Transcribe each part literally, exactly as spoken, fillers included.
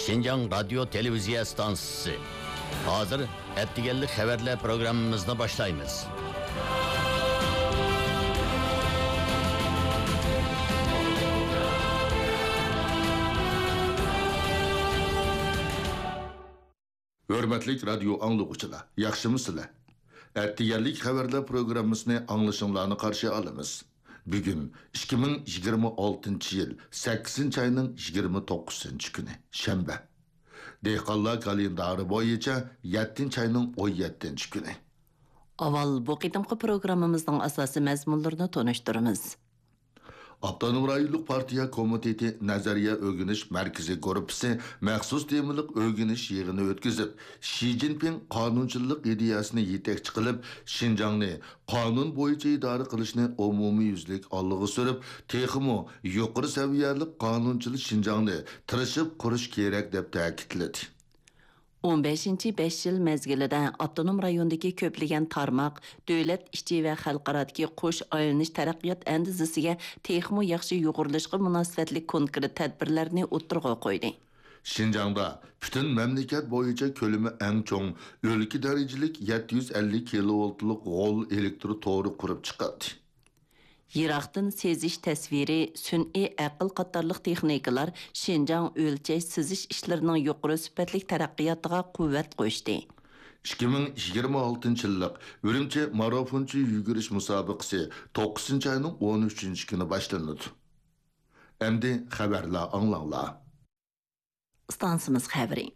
شىنجاڭ رادىيو تېلېۋىزىيە ئىستانسىسى. ھازىر ئەتىگەنلىك خەۋەرلەر پروگراممىمىزنى باشلايمىز. ھۆرمەتلىك رادىيو ئاڭلىغۇچىلار، ياخشىمۇسىلەر؟ ئەتىگەنلىك خەۋەرلەر پروگراممىسىنى ئاڭلىشىڭلارنى قارشى ئالىمىز. بۈگۈن ئىككى مىڭ يىگىرمە ئالتىنچى يىل سەككىزىنچى ئاينىڭ يىگىرمە توققۇزىنچى كۈنى، شەنبە. دېھقانلار كالېندارى بويىچە يەتتىنچى ئاينىڭ ئون يەتتىنچى كۈنى. ئاۋۋال بۇ قېتىمقى پروگراممىمىزنىڭ ئاساسىي مەزمۇنلىرىنى تونۇشتۇرىمىز. ئاپتونوم رايونلۇق پارتىيە كومىتېتى نەزەرىيە ئۆگىنىش مەركىزى گۇرۇپپىسى مەخسۇس تېمىلىق ئۆگىنىش يىغىنى ئۆتكۈزۈپ، شى جىنپىڭ قانۇنچىللىق ئىدىيەسىنى يېتەكچى قىلىپ، شىنجاڭنى قانۇن بويىچە ئىدارە قىلىشنى ئومۇميۈزلۈك ئالغا سۈرۈپ، تېخىمۇ يۇقىرى سەۋىيەلىك قانۇنچىل شىنجاڭنى تىرىشىپ قۇرۇش كېرەك، دەپ تەكىتلىدى. ئون بەشىنچى بەش يىل مەزگىلىدە ئاپتونوم رايوندىكى كۆپلىگەن تارماق، دۆلەت ئىچى ۋە خەلقئارادىكى قوش ئايلىنىش تەرەققىيات ئەندىزىسىگە تېخىمۇ ياخشى يۇغۇرۇلۇشقا مۇناسىۋەتلىك كونكرېت تەدبىرلەرنى ئوتتۇرىغا قويدى. شىنجاڭدا پۈتۈن مەملىكەت بويىچە كۆلىمى ئەڭ چوڭ، ئۆلكە دەرىجىلىك يەتتە يۈز ئەللىك كىلوۋولتلۇق غول ئېلېكتر تورى قۇرۇپ چىقىلدى. يىراقتىن سېزىش تەسۋىرى، سۈنئىي ئەقىل قاتارلىق تېخنىكىلار شىنجاڭ ئۆلچەش سېزىش ئىشلىرىنىڭ يۇقىرى سۈپەتلىك تەرەققىياتىغا قۇۋۋەت قوشتى. ئىككى مىڭ يىگىرمە ئالتىنچى يىللىق ئۈرۈمچى مارافونچى يۈگۈرۈش مۇسابىقىسى توققۇزىنچى ئاينىڭ ئون ئۈچىنچى كۈنى باشلىنىدۇ. ئەمدى خەۋەرلەر ئاڭلاڭلار. ئىستانسىمىز خەۋىرى.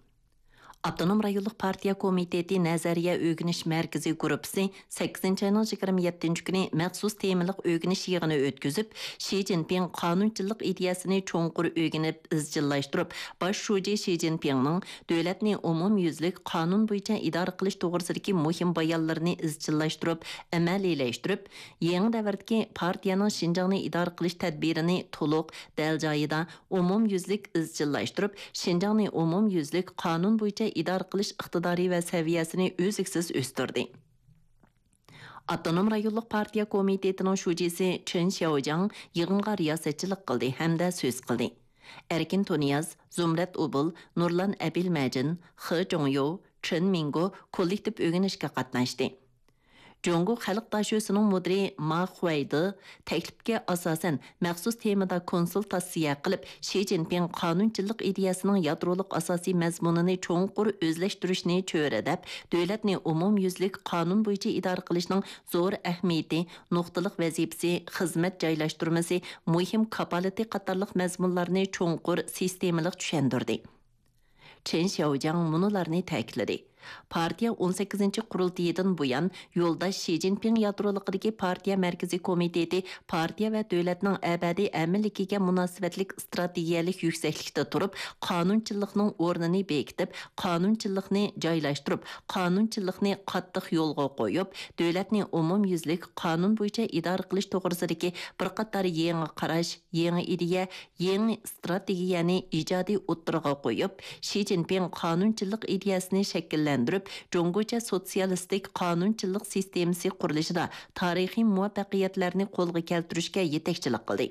ئاپتونوم رايونلۇق پارتىيە كومىتېتى نەزەرىيە ئۆگىنىش مەركىزى گۇرۇپپىسى سەككىزىنچى ئاينىڭ يىگىرمە يەتتىنچى كۈنى مەخسۇس تېمىلىق ئۆگىنىش يىغىنى ئۆتكۈزۈپ، شى جىنپىڭ قانۇنچىللىق ئىدىيەسىنى چوڭقۇر ئۆگىنىپ ئىزچىللاشتۇرۇپ، باش شۇجى شى جىنپىڭنىڭ دۆلەتنى ئومۇميۈزلۈك قانۇن بويىچە ئىدارە قىلىش توغرىسىدىكى مۇھىم بايانلىرىنى ئىزچىللاشتۇرۇپ، ئەمەلىيلەشتۈرۈپ، يېڭى دەۋردىكى پارتىيەنىڭ شىنجاڭنى ئىدارە قىلىش تەدبىرىنى تولۇق، دەل جايىدا، ئومۇميۈزلۈك ئىزچىللاشتۇرۇپ، شىنجاڭنى ئومۇميۈزلۈك قانۇن بويىچە ئىدارە قىلىش ئىقتىدارى ۋە سەۋىيەسىنى ئۈزلۈكسىز ئۆستۈردى. ئاپتونوم رايونلۇق پارتىيە كومىتېتىنىڭ شۇجىسى چېن شياۋجياڭ يىغىنغا رىياسەتچىلىك قىلدى ھەمدە سۆز قىلدى. ئەركىن تۇنىياز، زۇمرەت ئوبۇل، نۇرلان ئەبىلمەجىن، خې جۇڭيو، چېن مىڭگو كوللېكتىپ ئۆگىنىشكە قاتناشتى. جۇڭگو خەلق داشۆسىنىڭ مۇدىرى ما خۇەيدې تەكلىپكە ئاساسەن، مەخسۇس تېمىدا كونسۇلتاتسىيە قىلىپ، شى جىنپىڭ قانۇنچىللىق ئىدىيەسىنىڭ يادرولۇق ئاساسىي مەزمۇنىنى چوڭقۇر ئۆزلەشتۈرۈشنى چۆرىدەپ، دۆلەتنى ئومۇميۈزلۈك قانۇن بويىچە ئىدارە قىلىشنىڭ زور ئەھمىيىتى، نۇقتىلىق ۋەزىپىسى، خىزمەت جايلاشتۇرمىسى، مۇھىم كاپالىتى قاتارلىق مەزمۇنلارنى چوڭقۇر سىستېمىلىق چۈشەندۈردى. چېن شياۋجياڭ مۇنۇلارنى تەكىتلىدى: پارتىيە ئون سەككىزىنچى قۇرۇلتىيىدىن بۇيان، يولداش شى جىنپىڭ يادرولۇقىدىكى پارتىيە مەركىزىي كومىتېتى پارتىيە ۋە دۆلەتنىڭ ئەبەدىي ئەمىنلىكىگە مۇناسىۋەتلىك ئىستراتېگىيەلىك يۈكسەكلىكتە تۇرۇپ، قانۇنچىللىقنىڭ ئورنىنى بېكىتىپ، قانۇنچىللىقنى جايلاشتۇرۇپ، قانۇنچىللىقنى قاتتىق يولغا قويۇپ، دۆلەتنى ئومۇميۈزلۈك قانۇن بويىچە ئىدارە قىلىش توغرىسىدىكى بىر قاتار يېڭى قاراش، يېڭى ئىدىيە، يېڭى ئىستراتېگىيەنى ئىجادىي ئوتتۇرىغا قويۇپ، شى جىنپىڭ قانۇنچىللىق ئىدىيەسىنى شەكىللەندۈرۈپ، جۇڭگوچە سوتسىيالىستىك قانۇنچىلىق سىستېمىسى قۇرۇلۇشىدا تارىخىي مۇۋەپپەقىيەتلەرنى قولغا كەلتۈرۈشكە يېتەكچىلىك قىلدى،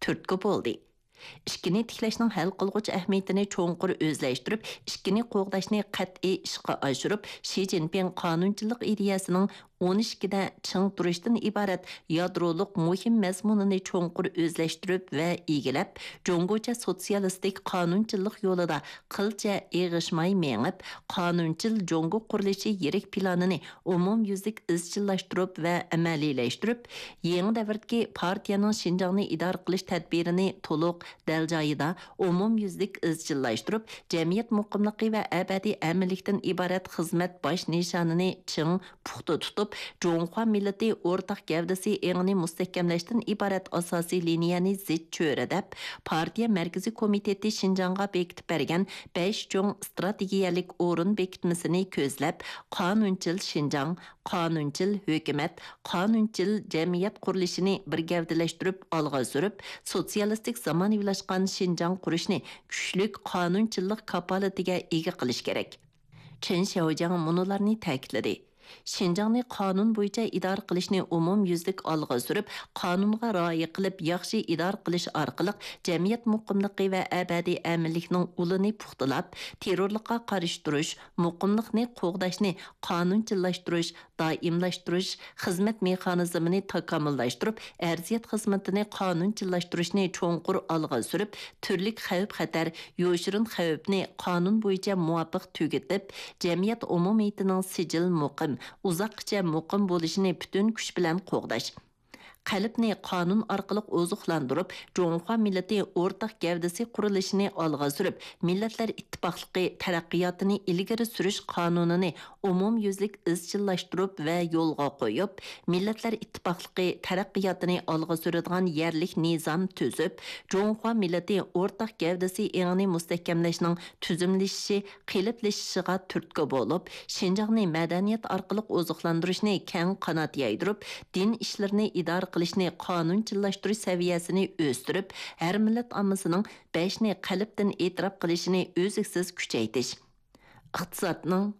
تۈرتكە بولدى. ئىككىنى تىكلەشنىڭ ھەل قىلغۇچ ئەھمىيىتىنى چوڭقۇر ئۆزلەشتۈرۈپ، ئىككىنى قوغداشنى قەتئىي ئىشقا ئاشۇرۇپ، شى جىنپىڭ قانۇنچىلىق ئىدىيەسىنىڭ ئون ئىككىدە چىڭ تۇرۇشتىن ئىبارەت يادرولۇق مۇھىم مەزمۇنىنى چوڭقۇر ئۆزلەشتۈرۈپ ۋە ئىگىلەپ، جۇڭگوچە سوتسىيالىستىك قانۇنچىللىق يولىدا قىلچە ئېغىشماي مېڭىپ، قانۇنچىل جۇڭگو قۇرۇلۇشى يىرىك پىلانىنى ئومۇميۈزلۈك ئىزچىللاشتۇرۇپ ۋە ئەمەلىيلەشتۈرۈپ، يېڭى دەۋردىكى پارتىيەنىڭ شىنجاڭنى ئىدارە قىلىش تەدبىرىنى تولۇق، دەل جايىدا، ئومۇميۈزلۈك ئىزچىللاشتۇرۇپ، جەمئىيەت مۇقىملىقى ۋە ئەبەدىي ئەمىنلىكتىن ئىبارەت خىزمەت باش نىشانىنى چىڭ، پۇختا تۇتۇپ، جۇڭخۇا مىللىتى ئورتاق گەۋدىسى ئېڭىنى مۇستەھكەملەشتىن ئىبارەت ئاساسىي لىنىيەنى زىچ چۆرىدەپ، پارتىيە مەركىزىي كومىتېتى شىنجاڭغا بېكىتىپ بەرگەن بەش چوڭ ئىستراتېگىيەلىك ئورۇن بېكىتمىسىنى كۆزلەپ، قانۇنچىل شىنجاڭ، قانۇنچىل ھۆكۈمەت، قانۇنچىل جەمئىيەت قۇرۇلۇشىنى بىر گەۋدىلەشتۈرۈپ ئالغا سۈرۈپ، سوتسىيالىستىك زامانىۋىلاشقان شىنجاڭ قۇرۇشنى كۈچلۈك قانۇنچىللىق كاپالىتىگە ئىگە قىلىش كېرەك. چېن شياۋجياڭ مۇنۇلارنى تەكىتلىدى: شىنجاڭنى قانۇن بويىچە ئىدارە قىلىشنى ئومۇميۈزلۈك ئالغا سۈرۈپ، قانۇنغا رىئايە قىلىپ، ياخشى ئىدارە قىلىش ئارقىلىق جەمئىيەت مۇقىملىقى ۋە ئەبەدىي ئەمىنلىكنىڭ ئۇلىنى پۇختىلاپ، تېررورلۇققا قارشى تۇرۇش، مۇقىملىقنى قوغداشنى قانۇنچىللاشتۇرۇش، دائىملاشتۇرۇش، خىزمەت مېخانىزمىنى تاكامۇللاشتۇرۇپ، ئەرزىيەت خىزمىتىنى قانۇنچىللاشتۇرۇشنى چوڭقۇر ئالغا سۈرۈپ، تۈرلۈك خەۋپ-خەتەر، يوشۇرۇن خەۋپنى قانۇن بويىچە مۇۋاپىق تۈگىتىپ، جەمئىيەت ئومۇمىيىتىنىڭ سىجىل، مۇقىم، ئۇزاققىچە مۇقىم بولۇشىنى پۈتۈن كۈچ بىلەن قوغداش. قەلبنى قانۇن ئارقىلىق ئوزۇقلاندۇرۇپ، جۇڭخۇا مىللىتى ئورتاق گەۋدىسى قۇرۇلۇشىنى ئالغا سۈرۈپ، مىللەتلەر ئىتتىپاقلىقى تەرەققىياتىنى ئىلگىرى سۈرۈش قانۇنىنى ئومۇميۈزلۈك ئىزچىللاشتۇرۇپ ۋە يولغا قويۇپ، مىللەتلەر ئىتتىپاقلىقى تەرەققىياتىنى ئالغا سۈرىدىغان يەرلىك نىزام تۈزۈپ، جۇڭخۇا مىللىتى ئورتاق گەۋدىسى ئېڭىنى مۇستەھكەملەشنىڭ تۈزۈملىشىشى، قېلىپلىشىشىغا تۈرتكە بولۇپ، شىنجاڭنى مەدەنىيەت ئارقىلىق ئوزۇقلاندۇرۇشنى كەڭ قانات يايدۇرۇپ، دىن ئىشلىرىنى ئىدارە قىلىشنى قانۇنچىللاشتۇرۇش سەۋىيەسىنى ئۆستۈرۈپ، ھەر مىللەت ئاممىسىنىڭ بەشنى قەلبتىن ئېتىراپ قىلىشىنى ئۈزلۈكسىز كۈچەيتىش. ئىقتىسادنىڭ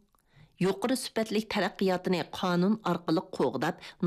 يۇقىرى سۈپەتلىك تەرەققىياتىنى قانۇن ئارقىلىق قوغداپ،